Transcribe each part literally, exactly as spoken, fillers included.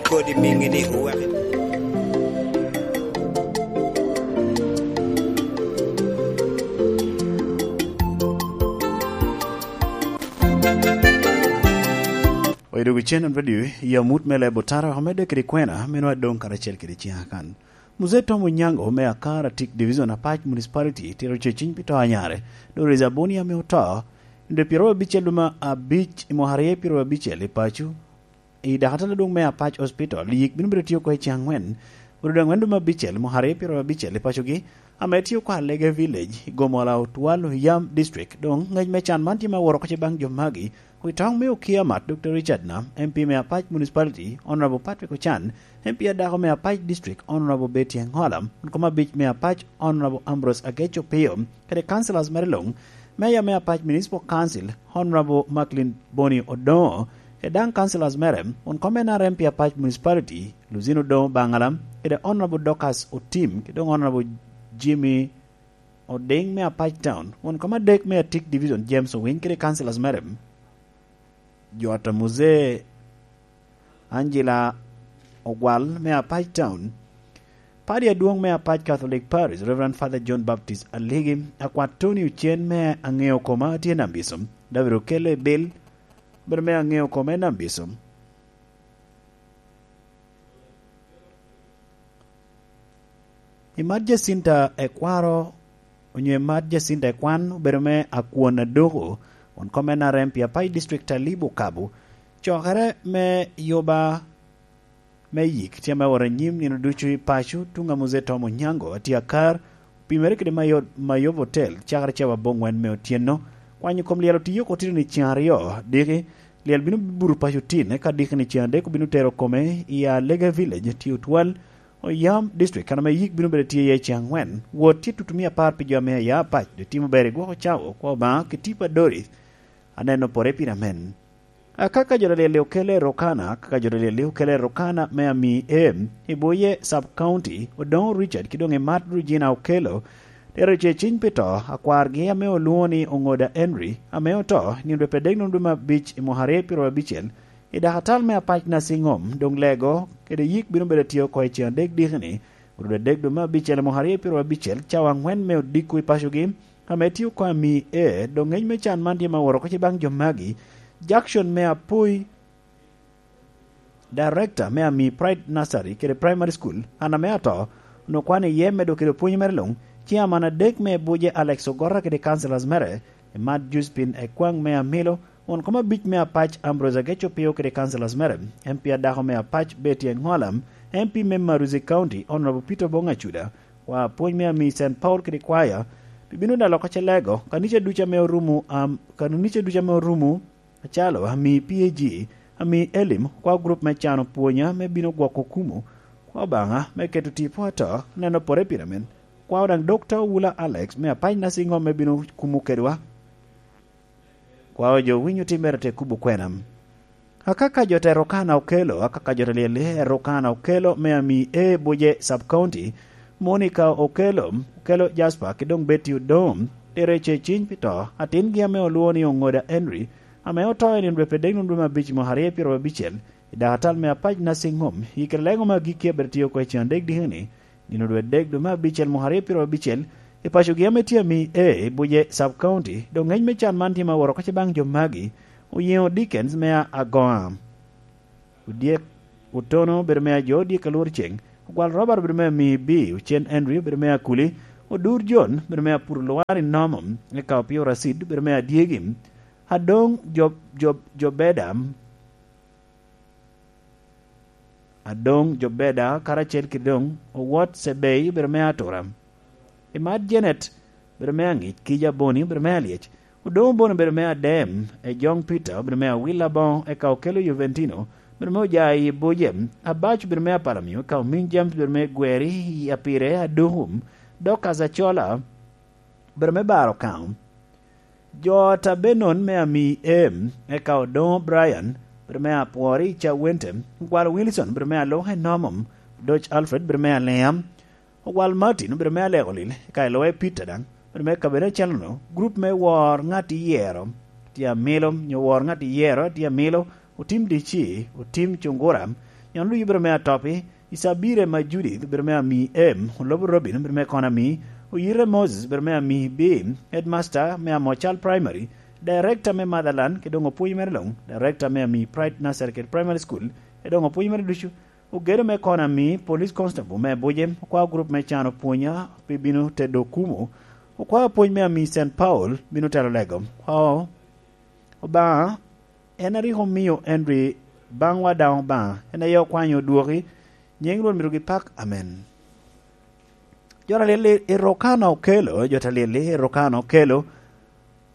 Kodi miŋi ni wek. Oido wi Channel Radio, i amut me leb otara, omedde kede kwena, me nwa doŋ karacel kede ciŋa kan. Muzee Tom Onyango me Akar Atik Division, Apac Municipality, tito ceciny pi to anyare, Doris Aboni ame oto, nde pyero abicel duma abic i mwaka aryo pyero abicel i paco, i dakatala dwoŋ me Apac Hospital, yik bino bedo tye oko i ceng angwen, orudo angwen duma abicel, mwaka aryo pyero abicel i pacogi, ame tye oko Alege Village, i Gomola Otwal, Oyam District. Doŋ ngec me can man tye ma woro oko ce baŋ jo magi, wi toŋ me Okia Mat, Dokta Richard Nam, M P me Apac Municipality, Honorable Patrick Ochan, M P adako me Apac District, Honorable Betty Engola, won kom abic me Apac, Honorable Ambrose Ageco Pio, kede councillors mere luŋ, Mayor me Apac Municipal Council, Honorable Macklin Boni Odongo, kede daŋ councillors mere, won kom N R M pi Apac Municipality, Luzino Odongo Baŋala, kede Honorable Dorcas Otim, kede doŋ Honorable Jimmy Oding me Apac Town, won kom adek me Atik Division, James Owiny, kede councillors mere, Jota Muzee, Angela Ogwal me Apac Town, Padi adwoŋ me Apac Catholic Parish, Reverend Father John Baptist Aligi, akwat Tony Ocen me Aŋeo Koma tye namba ico, David Okele Bill, bedo me Aŋeo Koma en namba ico. I mat Jacinta Ekwaro, onyo i mat Jacinta Ekwan obedo me Akwon Adoko, won kom N R M pi Apac District Alibo Kabo, cokere me yuba me yik tye ame owot anyim nino ducu i paco. Tuŋ a Muzee Tom Onyango, atye akar, opimere kede Mayot-, Mayob Hotel, cakere cawa aboŋwen me otyeno. Kwanyo kom lyel otiyo oko tito ni ceŋ aryo diki, lyel bino buto paco tin, eka diki ni ceŋ adek obino tero kome i Alege Village, tye otwal, Oyam District, kan ame yik bino bedo tye iye ceŋ angwen. Wot tye tutumia apar pi jo ame aya Apac, dok timo ber i gwoko cawa, kwa Obaŋa, ki tipo a Doris, aneno pore pire amen. Akaka jo Dalyel okele Rokana, akaka jo Dalyel okele Rokana me Ami Em, i Buye Sub County, Odongo Richard, ki doŋ i Mat Regina Okello, tero ce ciny pi to, akwargi ame olwoŋo ni Oŋoda Henry, ame oto, nino dwe pe dek nino dwe me abic i mwaka aryo pyero abicel, i dakatal me Apac Nursing Home, doŋ lego, kede yik bino bedo atye oko i ceŋ adek diki ni, orudo adek dwe me abicel i mwaka aryo pyero abicel, cawa angwen me odiko i pacogi, ame tye oko Ami E, doŋ ŋec me can man tye ma woro oko ce baŋ jo magi, Jackson me Apoi, Director me Ami Pride Nursery kede Primary School, an ame ato, onwoŋo kwan iye medo kede pwony mere luŋ, ci aman adek me Buje Alex Ogora kede councillors mere, Emat Josephine Ekwaŋ me Amilo, won kom abic me Apac Ambrose Ageco Pio kede councillors mere, M P adako me Apac Betty Engola, M P me Maruzi County Honorable Peter Obong Acuda, wa pwony me Ami Saint Paul kede kwaya, bibino da loko ce lego, kanica ducu ame orumo, am, kanica ducu ame orumo, acalo Ami P A G, Ami Elim, kwa grup me cano pwonya me bino gwoko kumo, kwa Obaŋa me keto tipo ato, neno pore pire men, kwa daŋ Dokta Owula Alex me Apac Nursing Home me bino kumo kedwa. Kwa jo winyo timmere te kubo kwena. Akaka jo te Rokana Okello, akaka jo te Lyelle Rokana Okello me Ami E Buje Sub County, Monica Okello, Okello Jasper, ki doŋ Betty Odom, tere ce ciny pi to, atingi ame olwoŋo ni Oŋoda Henry, ame oto i nino dwe pe dek nino dwe me abic mwaka aryo pyero abicel, i dakatal me Apac Nursing Home, i kare leŋo me agikki a bedo tye oko i ceŋ adek diki ni, nino dwe dek dwe me abicel mwaka aryo pyero abicel, i pacogi ame tye Ami E, i Buje Sub County, doŋ ŋec me can man tye ma woro oko ce baŋ jo magi, Oyeŋo Dickens me Agoŋa, Odyek Otono obedo me Ajo Odyek Alwor Ceŋ, Ogwal Robert obedo me Ami B, Ocen Henry obedo me Akuli, Odur John obedo me Apuro Lwar i Nomo, eka Opio Racid obedo me Adyegi, Adoŋ Jo-, Jo-, Jobeda, Adoŋ Jobeda karacel ki doŋ Owot Cebei obedo me Atura. Imat Janet obedo me Aŋic, Kija Boni obedo me Alyec, Odoŋo Boni obedo me Adem, Ejoŋ Peter obedo me Awil Aboŋo, eka Okello Juventino obedo me Ojayi Boje, Abac obedo me Apalamio, eka Omiŋ James obedo me Gweri i Apire Adukum, Dorcas Acola obedo me Baro Kaŋo. Jo Tabenon me Ami Em, eka Odoŋo Brian, bedo me Apwori i Cawente, Ogwal Wilson, bedo me Aloka i Nomom, Doc Alfred, bedo me Alea, Ogwal Martin, bedo me Aleko Lil, eka Eloe Peter daŋ, bedo me Kabene Acalono, gurup me Wor Ŋat Iyero, tye amilo, nyo Wor Ŋat Iyero, tye amilo, Otim D C, Otim Cungura, Nyono ducu bedo me Atopi, Isabire ma Judith bedo me ami M, Olobo Robin bedo me Konami, Oyite Moses bedo me ami B, Headmaster me Amocal Primary, Director me Motherland, kede doŋ opwony mere luŋ, Director me ami Pride Nursery kede Primary School, kede doŋ opwony mere ducu, ogedo me Konami, Police Constable me Abuja, okwao gurup me can opwonya pi bino tedo okumu, okwao apwony me ami Saint Paul bino telo lego, okwao Obaŋa en a rik omio Henry baŋwa daŋ Obaŋa, en aye okwanyo odwoki, nyiŋ Rwot myero gipak. Amen. Jo ta lyel-li i Rokana okelo, jo ta lyel-li i Rokana okelo,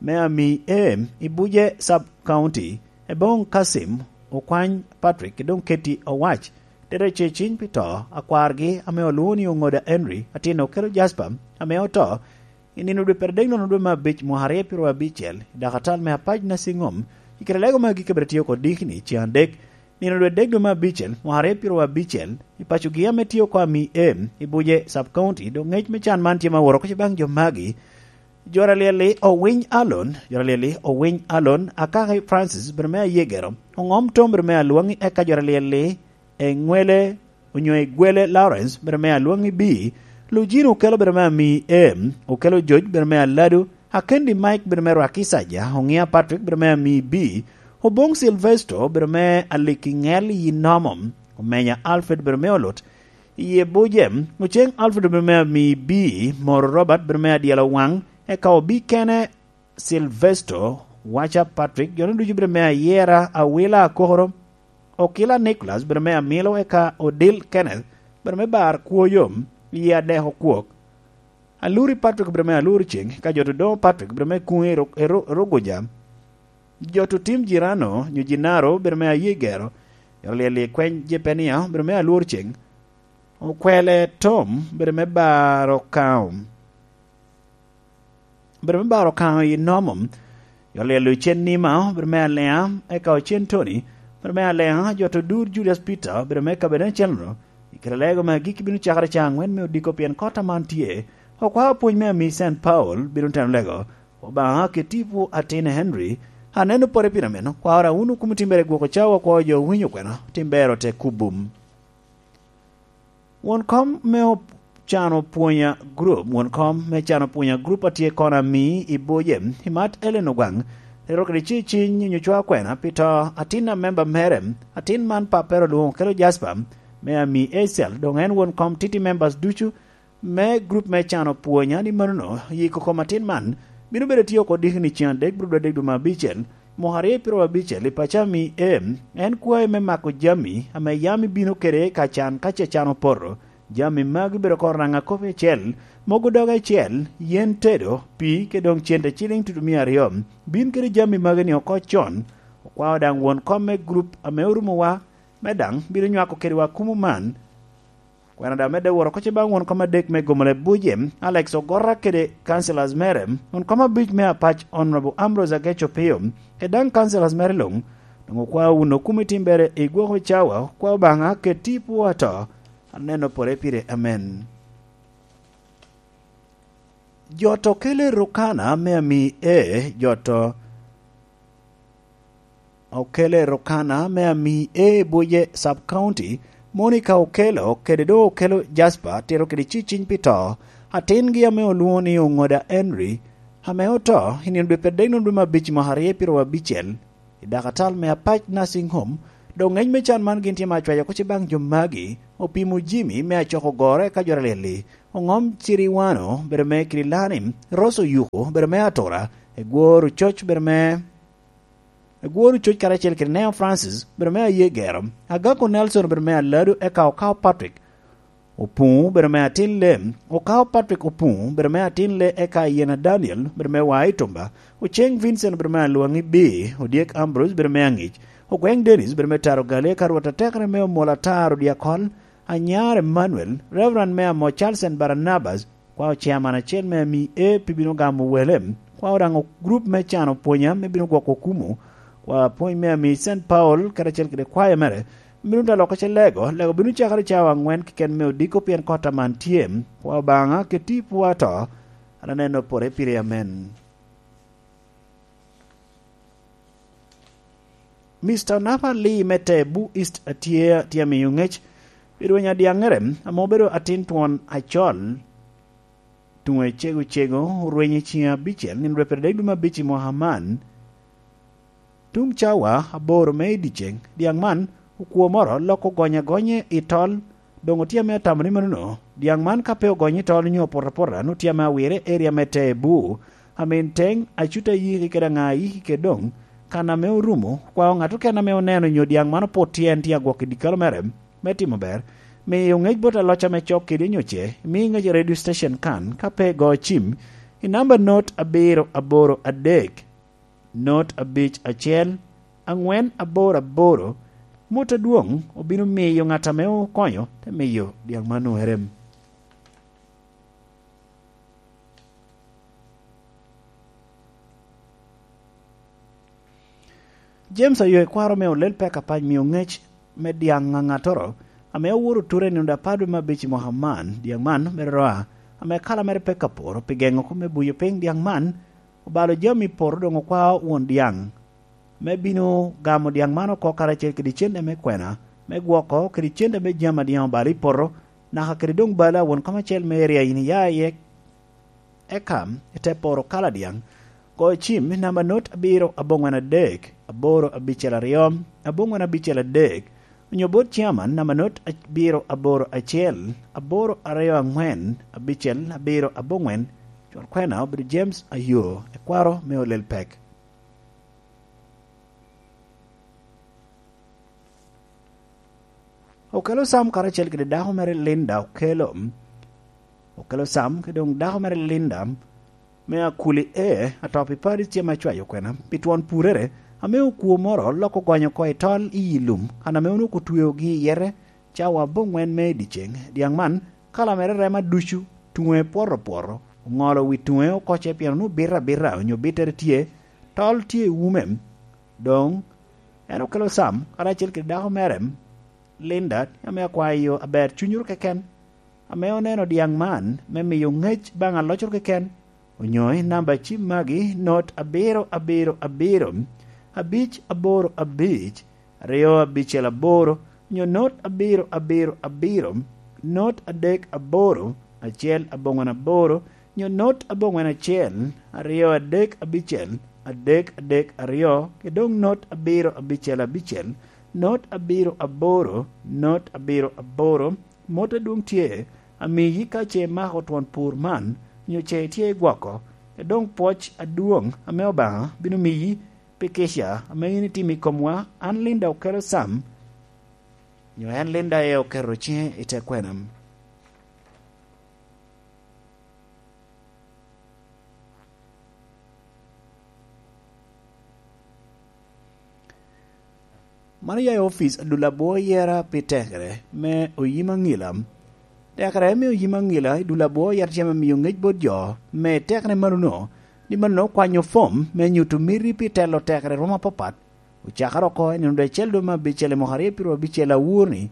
me ami M i Buje Sub County, Eboŋ Kasim, Okwany Patrick, kede doŋ Keti Owac, tere ce ciny pi to, akwargi ame olwoŋo ni Oŋoda Henry, atin okelo Jasper, ame oto, I nino dwe pyeradek nono dwe me abic mwaka aryo pyeraryo abicel, i dakatal me apac Nasiŋom, i kare lego me agikki abita tye oko dikni ceŋ adek. Nino dwe dek dwe me abicel mwaka aryo pyeraryo abicel, i pacogi ame tye oko ami M i Buje Sub County, doŋ ŋec me can man tye ma woro oko baŋ jo magi. Jo ta lyel-li owiny Alon, jo ta lyel-li owiny Alon, Akaki Francis bedo me Ayegero, Oŋom Tom bedo me Alwaŋi, eka jo ta lyel-li Eŋwele onyo Egwele Lawrence bedo me Alwaŋi B, Lujino okelo bedo me ami M, okelo Joc bedo me Aladu, Akendi Mike bedo me Rwaki Saja, Oŋia Patrick bedo me ami B, Oboŋ Silvesto bedo me Aliki Ŋel yi Nomo, Omenya Alfred bedo me Olut, Iye Bujem, Oceŋ Alfred bedo me ami B, Moro Robert bedo me Adyelo Waŋ, eka Obi Kene Silvesto, Waca Patrick, jo-nu ducu bedo me Ayera, Awila Akokoro, Okila Nicholas bedo me Amilo, eka Odil Kenneth bedo me Bar Kwoyo, Iye Adek Okwok, Aluri Patrick bedo me Aluri Ceŋ, eka jo-tu doŋo Patrick bedo me Kuŋ i Ru-, i Ru-, Ruguja, jo-tu Tim Jirano nyo Jinaro bedo me Ayegero, jo lyel i kweny Jepenia bedo me Aluri Ceŋ, Okwele Tom bedo me Bar Okaŋo. Bedo me Bar Okaŋo i Nomo, jo lyel Ocen Nima bedo me Aleŋa, eka Ocen Tony bedo me Aleŋa, jo-tu Dur Julius Peter bedo me kabedo acel-nu, i kare lego me agikki bino cakere ca aŋwen me odiko, pien kot aman tye. Okwao apwony me ami Saint Paul bino teno lego, Obaŋa keti pwo atin Henry, aneno pore pire meno, kwao ra wunu kumo timbere gwoko cawa, kwao jo winyo kwena, timbere ote kubum. Won kom me op-, cano pwonya group, won kom me cano pwonya group atye kono ami i Boje, i Mat Ellen Ogwaŋ, ero kede ci ciny nyo cwa kwena pi to atin a member mere, atin man pappere olwoŋo kelo Jasper, me ami Acel, doŋ en won kom titi members ducu me group me cano pwonya ni manono, yiko kom atin man bino bedo tye oko dikni ceŋ adek, bro dwe adek dwe me abicel, mwaka aryo pyeraryo abicel i paco ami em, en kwayo me mako jami ame yam ibino kede ka can ka ce can opoto. Jami magi bedo oko raŋa kop acel, mogo doge acel, yen tedo, pii, kede doŋ cente ciliŋ tutumia aryo. Bin kede jami magi ni oko con. Okwao daŋ won kom me group ame orumowa, me daŋ bino nywako kedwa kumo man. Kwena daŋ medde woro oko ce baŋ won kom adek me Gomole Buje, Alex Ogora kede councillors mere, won kom abic me Apac Honorable Ambrose Ageco Pio, kede daŋ councillors mere luŋ, doŋ okwao wun okumo i timbere i gwoko cawa, okwao Obaŋa keti pwo ato, aneno pore pire. Amen. Jot okele rukana me ami e, jot o-, okele rukana me ami e Buje Sub County, Monica Okello, kede doŋ okelo Jasper, tito kede ciciny pi to, atingi ame olwoŋo ni Oŋoda Henry, ame oto i nino dwe pyeradek nono dwe me abic mwaka aryo pyeraryo abicel, i dakatal me Apac Nursing Home, doŋ ŋec me can man gin tye ma acwayo oko ce baŋ jo magi, Opimo Jimmy me Acoko Ogoro eka jo Aryel-li, Oŋom Ciriwano bedo me Kirilani, Rose Oyuko bedo me Atura, Egwor Ococ bedo me, Egwor Ococ karacel kede Neo Francis bedo me Ayegero, Agako Nelson bedo me Aladu eka Okao Patrick, Opuŋo bedo me atin le, Okao Patrick Opuŋo bedo me atin le, eka Ayena Daniel bedo me Wai Tumba, Oceng Vincent bedo me Alwaŋi B, Odyek Ambrose bedo me Aŋic, Ogweŋ Dennis bedo me Taro Gali, eka Rwot atekere me Omol Atar Odyakol, Anyar Emmanuel, Reverend me Amo Charles and Barnabas, kwao chairman acel me ami e pi bino gamo wele, kwao daŋ grup me cano pwonya me bino gwoko kumo, kwao apwony me ami Saint Paul, karacel kede kwaya mere, bino dalo oko ce lego, lego bino cakere cawa aŋwen keken me odiko pien kot aman tye. Kwa Obaŋa, keti pwo ato, an aneno pore pire. Amen. Mister Napa Lee me Tebu East atye, tye amiyo ŋec pi rweny adyaŋere ame obedo atin twon acol, tuŋe cego cego, orweny i ciŋe abicel, nino dwe pyeradek dwe me abic i mwaka man. Tuŋ cawa aboro me i dyeceŋ, dyaŋ man okwo moro loko gonye agonye i tol, doŋ otye ame atamo ni manono. Dyaŋ man ka pe ogonye i tol onyo opoto apota, nwoŋo tye ame awire i area me Tebu, Amin Teŋ, Acuta Yiki kede Aŋa Yiki kede doŋ kan ame orumo, kwa ŋat okene ame oneno onyo dyaŋ man opot tye en tye agwok i dyekalo mere me timo ber, miyo ŋec bot aloc ame cok kede onyo ce, mi ŋec i radio station kan, ka pe igo cim, i namba not abiro aboro adek, not abic acel, aŋwen aboro aboro, mot adwoŋ obino miyo ŋat ame okonyo te miyo dyaŋ man oerem. James Ayo, ekwaro me olel pek apac mio ŋec me dyaŋ aŋattoro ame owoto oture i nino apar dwe me abic i mwaka man. Dyaŋ man mere roa ame kala mere pek aporo pi geŋo kop me buyo piny. Dyaŋ man obalo jami i poto, doŋ okwao won dyaŋ me bino gamo dyaŋ man oko karacel kede cente me kwena me gwoko kede cente me jami a dyaŋ obalo i poto, naka kede doŋ balo a won kom acel me area in iya iye. Eka ite poro kala dyaŋ, go cim i namba not abiro aboŋwen adek, aboro abicel aryo, aboŋwen abicel adek, onyo bot ciaman namba not abiro aboro acel, aboro aryo aŋwen, abicel abiro aboŋwen. Cwar kwena obedo James Ayo, ekwaro me olel pek. Okelo Sam karacel kede dako mere Linda Okelo. Okelo Sam kede doŋ dako mere Linda me Akuli E, atop i Paris, tye me cwayo kwena pi twon purere ame okwo moro loko gonyo oko i tol i yi lum, kan ame onwoŋo otweogi i yete cawa aboŋwen me i dyeceŋ. Dyaŋ man kala mere rema ducu, tuŋe pwoto pwoto, oŋolo wi tuŋe okoce pien onwoŋo bito abita onyo bittere tye, tol tye i ume. Doŋ en okelo Sam karacel kede dako mere, Linda, ame akwayo aber cunyoro keken, ame oneno dyaŋ man me miyo ŋec baŋ alocoro keken, onyo i namba cim magi, not abiro abiro abiro, abic aboro abic, aryo abicel aboro, onyo not abiro abiro abiro, not adek aboro, acel aboŋwen aboro, onyo not aboŋwen acel, aryo adek abicel, adek adek aryo, kede doŋ not abiro abicel abicel, not abiro aboro, not abiro aboro, mot adwoŋ tye, amiyi ka ce imako twon pur man, onyo ce itye i gwoko, kede doŋ pwoc adwoŋ ame Obaŋa bino miyi pi kica ame in itimo i komwa. An Linda Okelo Sam, onyo en Linda E oketo ciŋe i te kwena. Man oya i opic adul abwo yera pi tekere me oyim aŋila. Tekere me oyim aŋila i dul abwo yera tye me miyo ŋec bot jo me tekere manono, ni manono kwanyo fom me nyuto miti pi telo tekere romo apapat, ocakere oko i nino dwe acel dwe me abicel i mwaka aryo piro abicel awur-ni,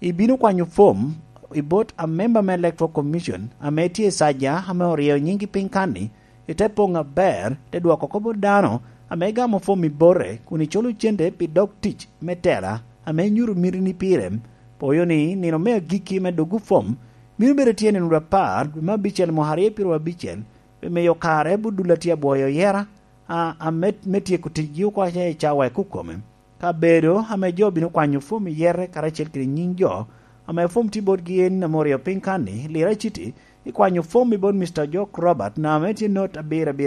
ibino kwanyo fom i bot amemba me Electoral Commission ame tye i Saja ame oryeyo nyinggi piny kan-ni, ite poŋ aber, ite dwoko kop bot dano ame igamo fom i bote, kun iculo cente pi dog tic me tela ame inyuto mitini pire. Poyo ni nino me agikki me doggo fom bino bedo tye nino dwe apar dwe me abicel mwaka aryo piro abicel, pi miyo kare bot dul a tye abwoyo yera, a, a me, me tyeko ticgi oko aca i cawa i kukome. Kabedo ame jo bino kwanyo fom i yete karacel kede nyiŋ jo ame fom tye botgi en ame oryeyo piny kan-ni, Lira City, ikwanyo fom i bot Mister Jock Robert, namba ame tye not abiro abiro